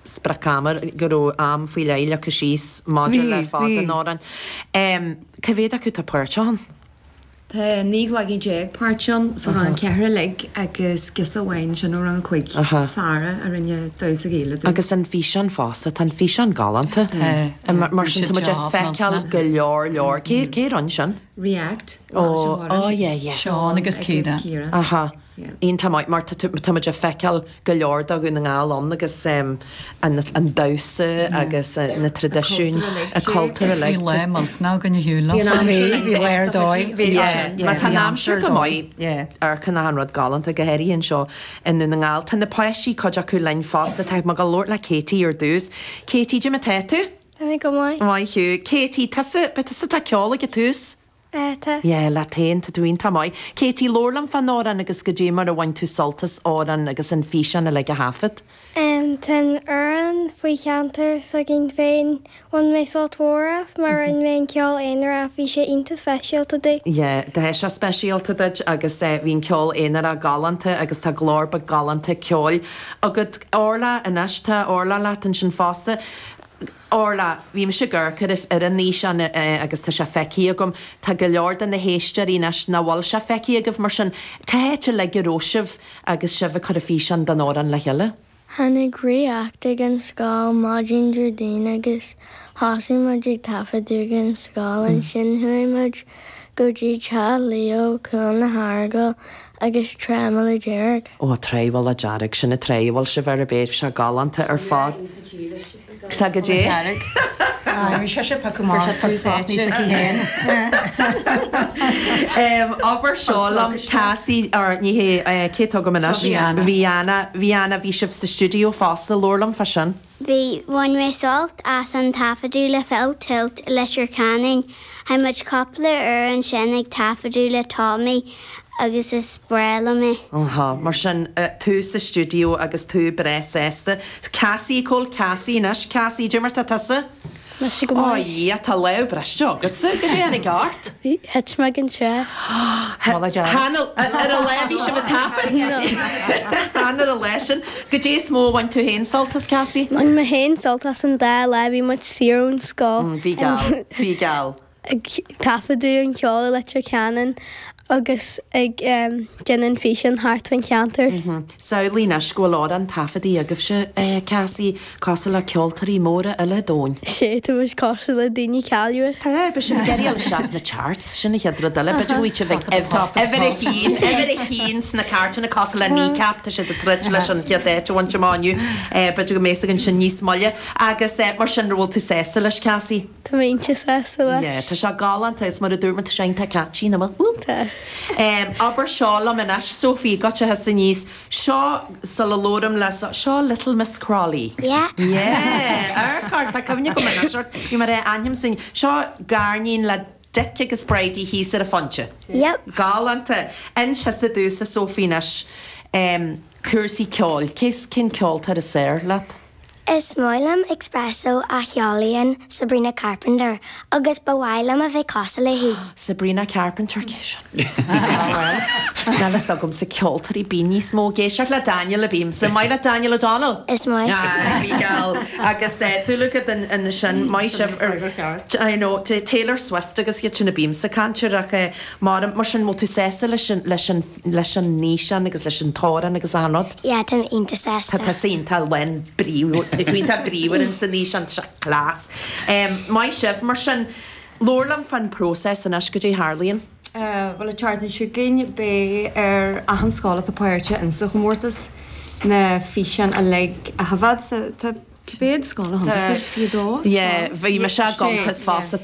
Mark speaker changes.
Speaker 1: Sprioc-ama, go raibh am faoi leith leagtha síos maidir le fad an amhráin. Cá mhéad acu atá páirteach ann?
Speaker 2: Tá 19 leaidí páirteach ann, sa rang 4 uilig agus girseach amháin sin ó rang 5, Farah, a rinne damhsa Gaelach dúinn.
Speaker 1: Agus an físeán fosta, tá an físeán galánta.
Speaker 3: Tá.
Speaker 1: Mar sin tá muid ag feiceáil go leor leor. Cé a rinne sin?
Speaker 2: React.
Speaker 1: Oh, oh yeah, yes.
Speaker 3: Seán agus Ciara.
Speaker 1: Aha. Iontach maith mar tá muid ag feiceáil go leor de Dhún na nGall ann agus an damhsa agus na traidisiúin, an cultúr uilig.
Speaker 3: Bhí lá millteanach againn ar shiúl leofa.
Speaker 4: Bhí, bhí lá ar dóigh.
Speaker 1: Bhí, má tá an aimsir go maith, amharcann achan rud galánta, go háirithe anseo i nDún na nGall. Tá na páistí, cuid acu linn fosta, tá mé ag dul labhairt le Katie ar dtús. Katie, cad é mar tá tú?
Speaker 5: Tá mé go maith.
Speaker 1: Maith thú. Katie, tusa, ba tusa atá ag ceol ag an tús?
Speaker 5: Tá.
Speaker 1: Yeah, leat féin, tá tú iontach maith. Katie, labhair liom fán amhrán agus goidé mar a bhain tú sult as amhrán agus an físeán uilig a thaifead.
Speaker 5: Tá an amhrán faoi cheantar s'againn féin. Bhain mé sult mhór as mar rinne mé an ceol aonarach, bhí sé iontach speisialta domh.
Speaker 1: Yeah, tá sé speisialta duit agus bhí an ceol aonarach galánta agus tá glór beag galánta ceoil agat. Orla, anois, tá Orla leat ansin fosta. Orla, Bhí mise ag amharc ar ar an fhíseán agus tá sé feicthe agam. Tá go leor de na héisteoirí anois nach bhfuil sé feicthe agaibh, mar sin cá háit uilig a raibh sibh agus sibh ag cur an físeán den amhrán le chéile?
Speaker 5: Tháinig React ag an scoil maidin Déardaoin agus thosaigh muid ag taifeadadh ag an scoil. Ansin chuaigh muid go dtí teach Leo, Cuan na hEaragail agus Trá Mhullach Dearg.
Speaker 1: Ó, Trá Mhullach Dearg, sin an trá a bhfuil sibh ar a bheidh sé galánta ar fad. Tá go dé.
Speaker 4: Bhí sise piocadh amach as spot níos aici féin.
Speaker 1: Abair seo liom, Cassie, or ní hé, cé atá agam anois?
Speaker 3: Viana.
Speaker 1: Viana, Viana, bhí sibh sa stiúideo fosta, labhair liom fá sin.
Speaker 6: Bhí, bhain mé sult as an taifeadadh le Full Tilt i Leitir Ceanainn. Chaith muid cúpla uair ansin ag taifeadadh le Tommy agus is breá liom é.
Speaker 1: Aha, mar sin, tú sa stiúideo agus tú breá sásta. Cassie, cá bhfuil Cassie anois? Cassie, cad é mar tá tusa?
Speaker 5: Mise go
Speaker 1: Ó
Speaker 5: maith.
Speaker 1: Dhia, tá lámh briste agatsa, cad é tháinig ort?
Speaker 5: Bhí, thit mé den trá.
Speaker 4: Mullach Dearg.
Speaker 1: Chan ar an lá a bhí sibh ag taifead?
Speaker 5: No.
Speaker 1: Chan ar an lá sin. Goidé is mó a bhain tú féin sult as, Cassie?
Speaker 5: Bhain mé féin sult as an dá lá a bhí muid saor ón scoil.
Speaker 1: Bhí geal, bhí geal.
Speaker 5: Ag taifeadadh an cheoil i Leitir Ceanainn agus ag déanamh an físeáin thart faoin cheantar.
Speaker 1: Samhlaigh anois go bhfuil amhrán taifeadta agaibhse, Cassie, cosúil le ceoltóirí móra uile an domhain.
Speaker 5: Sea, tá muid cosúil le daoine cáiliúla.
Speaker 1: Tá, beidh sibh ag iarraidh dul isteach sna charts, sin an chéad rud eile. B'fhéidir go bhfuil sibh ag uimhir a haon, uimhir a haon sna cairteanna cosúil le Kneecap, tá siad ag troid leis an chéad áit a bhaint amach inniu. B'fhéidir go mbeidh fhios againn sin níos moille. Agus mar sin, an bhfuil tú sásta leis, Cassie?
Speaker 5: Tá mé iontach sásta leis.
Speaker 1: Yeah, tá sé galánta is mar a dúirt mé tá sé iontach catchy, nach bhfuil?
Speaker 5: Tá.
Speaker 1: Abair seo liom anois, Sophie, goitse thusa aníos. Seo, sula labhraím le, seo Little Miss Crolly.
Speaker 6: Yeah.
Speaker 1: Yeah, amharc ort, tá cuimhne agam anois ort, bhí mé ar ainm sin. Seo gariníon le Dick agus Bridie thíos ar an phointe.
Speaker 6: Yep.
Speaker 1: Galánta. Inis thusa domhsa, Sophie, anois, cúrsaí ceoil. Cé, cén ceoltóir is fearr leat?
Speaker 6: Is maith liom Expresso a cheolaíonn Sabrina Carpenter agus ba mhaith liom a bheith cosúil léi.
Speaker 1: Sabrina Carpenter, cé sin? Ah bhuel, níl fhios agamsa ceoltóirí bíonn níos mó ag éisteacht le Daniel a bímse. Maith leat Daniel O'Donnell?
Speaker 6: Is maith.
Speaker 1: Ah, bhí geall. Agus dúil agat ansin, maith sibh ar, I know, Taylor Swift agus iad sin a bímse ag caint air ach mar, mar sin, bhfuil tú sásta leis an, leis an, leis an fhíseán agus leis an t-amhrán agus achan rud.
Speaker 6: Yeah, tá mé iontach sásta.
Speaker 1: Tá tusa iontach lán bríomhar, tá tú iontach bríomhar in san fhíseán, tá sé class. Maith sibh, mar sin, labhair liom fán próiseas anois, goidé a tharlaíonn?
Speaker 2: Bhuel, an tseachtain seo chugainn, beidh ar achan scoil atá páirteach insa chomórtas na físeáin uilig a thaifead. So, tá cé mhéad scoil a thiontascaigh? 22 scoil?
Speaker 1: Yeah, bhí mise i gcuntas fosta.